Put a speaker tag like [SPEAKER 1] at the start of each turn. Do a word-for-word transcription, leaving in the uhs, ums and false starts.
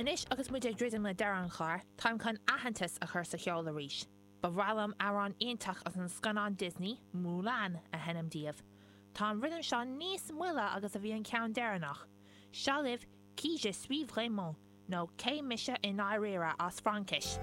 [SPEAKER 1] Anois agus muid ag druidim le deireadh an chláir, táim chun aitheantas a chur sa cheol arís. Ba bhreá liom amhrán iontach as an scannán Disney, Mulan, a sheinm daoibh. Tá an rithim seo níos moille agus a bhí an ceann deireanach. Seo libh Qui je suis vraiment nó cé mise i ndáiríre as Fraincis.